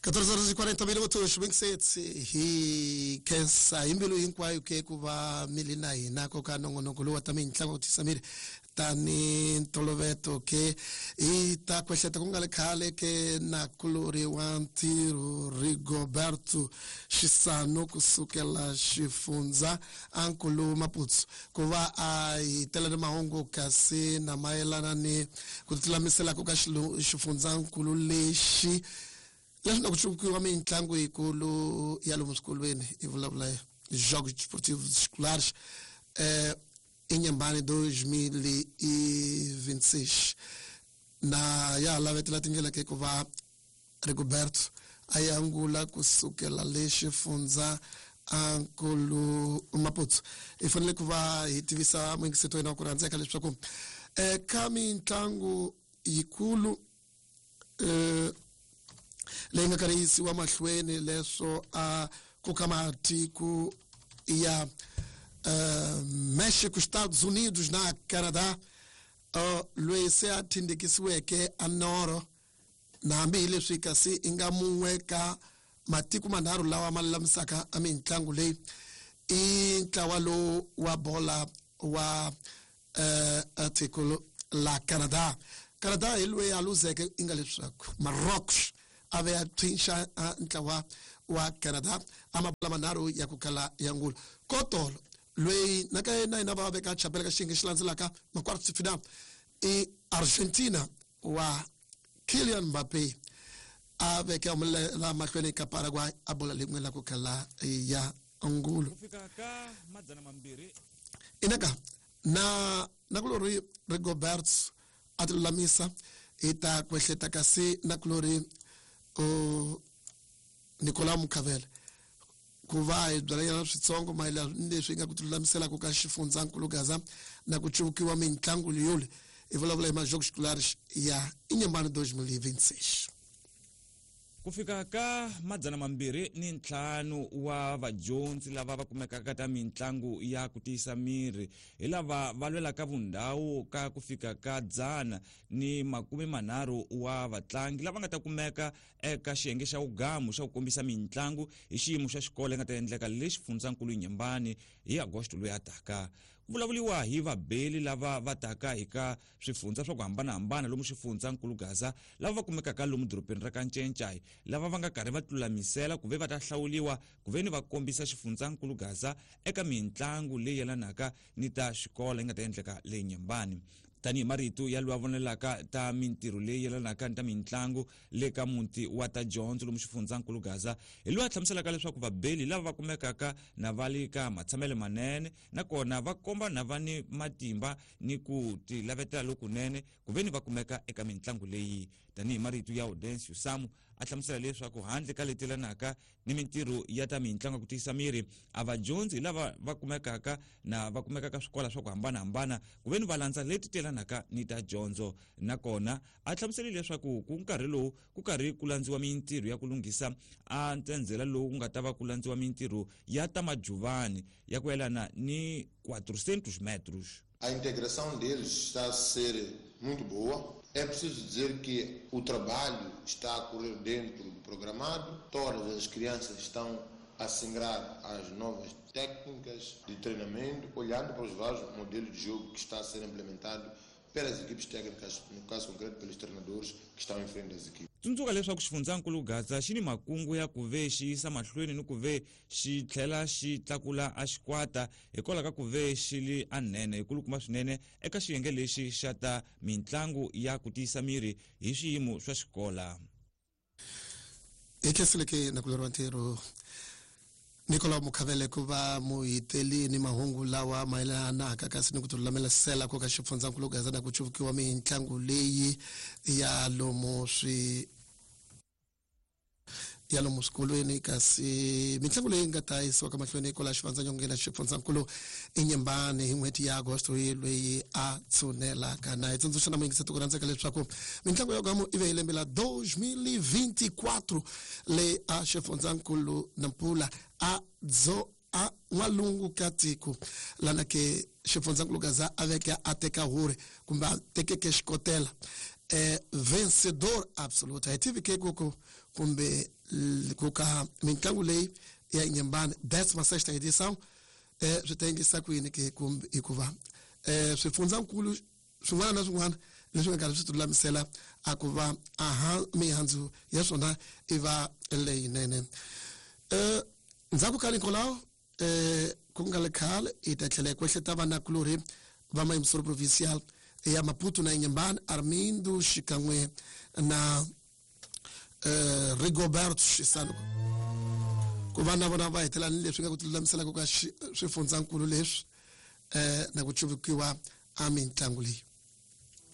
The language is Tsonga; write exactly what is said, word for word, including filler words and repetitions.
catorze horas e quarenta minutos, vinte e sete hi khensa hi mbilu hinkwayo ke ku va mi li na hina ko ka nongonoko lowu wa ta mitlangu ku tisa miri tani ntoloveto ke hi ta kwehleta ku nga le khale ke nakulori wa ntirho Rigoberto Xisano kusukela xifundza ankulu Maputsu ku va a hi tela ni mahungu kasi na mayelana ni ku tilulamisela ka xifundzankulu lexi leswi na ku cukiwa mitlangu yikulu ya lomu swikolweni i vulavula Jogos Desportivos Escolares eh, Inhambane dois mil e vinte e seis na ya lavetela tindlela ke ku va Rigoberto a yangula kusukela le xifundza ankulu Maputsu. Hi fanele ku va hi tivisa muyingiseti wa hina wa ku rhandzeka leswaku eka mitlangu yikulu eh, leyi nga karhi yisiwa mahlweni leswo a ku ka matiko ya uh, México, Estados Unidos na Canadá, uh, loyi se a thindekisiweke a noro na hambi hi leswi kasi i nga mun'we ka matiko manharhu lawa ma lulamisaka a mitlangu leyi i ntlawa lowu wa bola wa uh, tiko la Canada. Canada hi loyi a luzeke i nga leswaku Marrocos a ve a tshwinxa ntlawa wa Canada a mabola manharhu ya ku kala ya ngulu kotolo loyi na ka yena hina va veka chapela ka xiyenge xi landzelaka ma-quarto de final i Argentina wa Kylian Mbappe a veke humelela mahlweni ka Paraguay a bola lin'we la ku kala ya ngulu. Ku fika ka madzana mambirhi. Inaka na nakulori Rigobert a ti lulamisa hi ta kwehleta kasi nakulori uh, Nicolas Mukhavele ku va hi byalanyana switsongo mayelana ni leswi nga ku tilulamiselaka ka xifundzankulu Gaza na ku cuvukiwa mitlangu leyoli hi vulavula hi ma-Jogos Escolares ya Inhambane dois mil e vinte e seis. Ku fika ka madzana mambirhi ni ntlhanu wa vadyondzi lava va kumekaka ta mitlangu ya ku tiyisa miri hi lava va lwelaka vundhawu ka ku fika ka dzana ni makume manharhu wa vatlangi lava nga ta kumeka eka xiyenge xa wugamu xa ku kombisa mitlangu hi xiyimo xa xikolo yi nga ta endleka le xifundzankulu Inhambane hi Agosto loyi a taka. Ku vulavuriwa hi vabeli lava va taka hi ka swifundza swa ku hambanahambana lomu xifundzankulu Gaza lava va kumekaka lomu dorobeni ra Kancencai lava va nga karhi va tilulamisela ku ve va ta hlawuliwa ku ve ni va kombisa xifundzankulu Gaza eka mitlangu leyi yelanaka ni ta xikolo yi nga ta endleka le Inhambane. Tanihi marito ya loyi a vonelaka ta mintirho leyi yelanaka ni ta mitlangu le ka muti wa ta dyondzo lomu xifundzankulu Gaza hi loyi a hlamuselaka leswaku vabeli lava va kumekaka na va le ka matshamelo manene nakona va komba na va ni matimba ni ku tilavetela lokunene ku ve ni va kumeka eka mitlangu leyi. Tanihi marito ya Audencio Samu a hlamusela leswaku handle ka leti yelanaka ni mintirho ya ta mitlangu ya ku tiyisa miri a vadyondzi lava va kumekaka na va kumekaka swikolo swa ku hambanahambana ku ve ni va landza leti ti yelanaka ni ta dyondzo. Nakona a hlamuseli leswaku ku nkarhi lowu ku karhi ku landziwa mintirho ya ku lunghisa a ntsendzela lowu ku nga ta va ku landziwa mintirho ya ta majuvani ya ku yelana ni quatrocentos metros. A integração deles está a ser muito boa. É preciso dizer que o trabalho está a correr dentro do programado. Todas as crianças estão a se ingrar às novas técnicas de treinamento, olhando para os vários modelos de jogo que está a ser implementado pelas equipes técnicas, no caso concreto pelos treinadores que estão em frente das equipes. Tsundzuka leswaku xifundzankulu Gaza xi ni makungu ya ku ve xi yisa mahlweni ni ku ve xi tlhela xi tlakula a xikwata hikwalaho ka ku ve xi li anene hikulukumba swinene eka xiyenge lexi xa ta mitlangu ya ku tiyisa miri hi swiyimo swa xikola. Hi khenseleke nakulori wa ntirho Nicolas Mukhavele ku va muhiteli ni mahungu lawa mayelanaka kasi ni ku tilulamisela ku ka xifundzankulu Gaza na ku cuvukiwa mitlangu leyi ya lomu swi ya lomu swikolweni kasi mitlangu leyi nga ta yisiwaka mahlweni kwala xivandzanyongeni xifundzankulu Inhambane hi n'hweti ya Agosto loyi a tshunelaka. Na hi tsundzuxa na muyingiseti ku rhandzeka leswaku mitlangu ya gamu i ve hi lembe la dois mil e vinte e quatro leyi a xifundzankulu Nampula a dzo a n'walungu ka tiko lana ke xifundzankulu Gaza a veke a teka huri kumbe a tekeke xikotela. eh, vencedor absoluto. A hi tivi ke ku ku kumbe ku ka mitlangu leyi ya Inhambane décima sexta edição eh, swi ta endlisa ku yini ke kumbe hikuva eh, swifundzankulu swin'wana na swin'wana leswi nga karhi swi tilulamisela a ku va aha mihandzu ya swona i va leyinene. Eh, ndzhaku ka Nicolau eh, ku nga le khale hi ta tlhela hi kwehleta vanakulorhi va mayimisoro provincial ya Maputo na Inhambane, Armindo xikan'we na eh, Rigoberto Xisano, ku va na vona va hetela ni leswi nga ku tilulamiselaka ka swifundzankulu leswi eh, na ku cuvukiwa a mitlangu leyi.